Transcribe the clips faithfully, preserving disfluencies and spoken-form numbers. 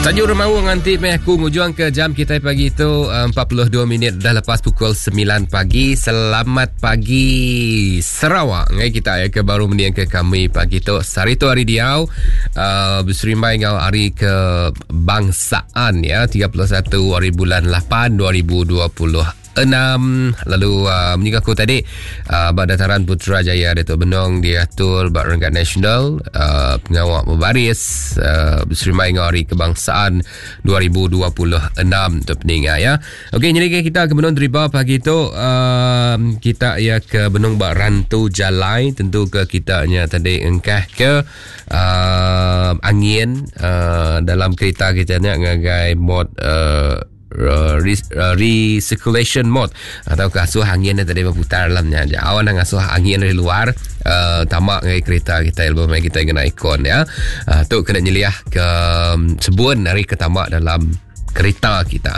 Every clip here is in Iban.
Tajuk remaung nanti meh aku ngujuang ke jam kita pagi tu empat puluh dua minit dah lepas pukul sembilan pagi. Selamat pagi Sarawak. Ngai kita ya ke baru mendiang ke kami pagi tu. Sehari tu hari diau uh, berserimbai ngau hari kebangsaan ya, tiga puluh satu hari bulan lapan dua ribu dua puluh enam. Lalu uh, menyinggung aku tadi uh, bak dataran Putrajaya Datuk Benong diatur bak renggat nasional uh, pengawal berbaris uh, berserimai dengan hari kebangsaan dua ribu dua puluh enam tu peninga ya. Okey, jadi kita ke Benong Driba pagi tu uh, kita ya ke Benong bak Rantu Jalai, tentu ke kita nya tadi engkah ke uh, angin uh, dalam kereta kita nya ngagai mod uh, recirculation mode atau kasuh angin tadi berputar dalamnya. Awan ngasuh angin dari luar uh, tamak ngai kereta kita ilmu mai kita kena ikon ya. Uh, tu kena nyeliah ke um, sebuan hari ke tamak dalam kereta kita.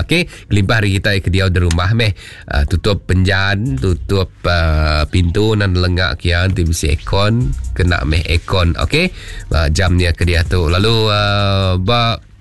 Okey, kelimpah hari kita ke dia di rumah meh uh, tutup penjan, tutup uh, pintu dan lengak kian ti bisi aircon, kena meh aircon. Okey, uh, jamnya ke dia tu. Lalu uh, ba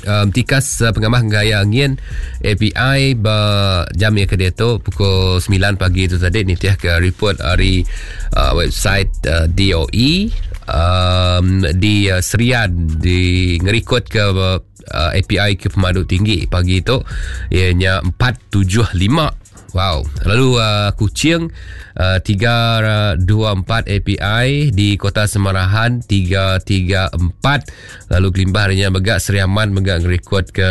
Um, tikas uh, pengamah gaya angin A P I ba jam yang ke dia tu pukul sembilan pagi tu tadi ni tiah ke report hari uh, website uh, D O E um, di uh, Serian di ngerikod ke uh, A P I ke pemadu tinggi pagi tu ianya empat tujuh lima. Wow. Lalu uh, Kuching uh, tiga dua empat A P I, di Kota Semarahan tiga tiga empat. Lalu kelimbah harinya megak Seriaman megak ngerekod ke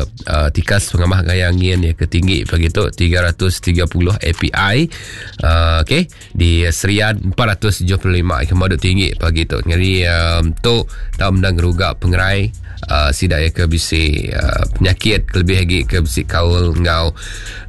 uh, tikas pengamah gaya angin yang ketinggi pagi tu tiga ratus tiga puluh A P I. Uh, okey, di Serian empat ratus tujuh puluh lima kemadu tinggi pagi tu. Jadi um, tu tak mendang gerugak pengerai uh, sidak ya ke bisi uh, penyakit kelebih lagi ke bisi kaul ngau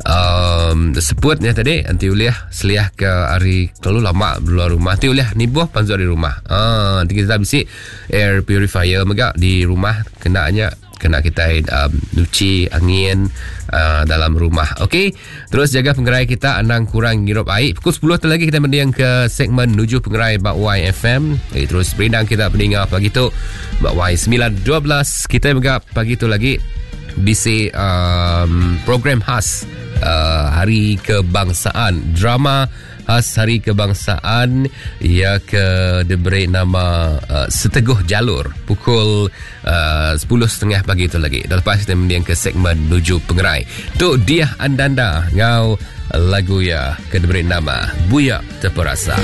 um, sebutnya tadi anti uliah seliah ke hari terlalu lama luar rumah anti uliah ni buah panzur di rumah. Ah, nanti kita bisi air purifier megak di rumah kenanya kena kita um, nyuci angin uh, dalam rumah. Okey, terus jaga pengerai kita anang kurang ngirup air. Pukul sepuluh tu lagi kita mendiang ke segmen Nuju Pengerai Bak Y F M. Jadi terus berindang kita pendengar pagi tu Bak Y sembilan dua belas. Kita megak pagi tu lagi bisi um, program khas uh, Hari Kebangsaan, drama khas Hari Kebangsaan ia ke diberi nama uh, Seteguh Jalur pukul uh, sepuluh tiga puluh pagi itu lagi. Dan lepas kita mendiang ke segmen Nuju Pengerai. Tu dia andanda ngau lagu ya ke diberi nama Buya Terperasa.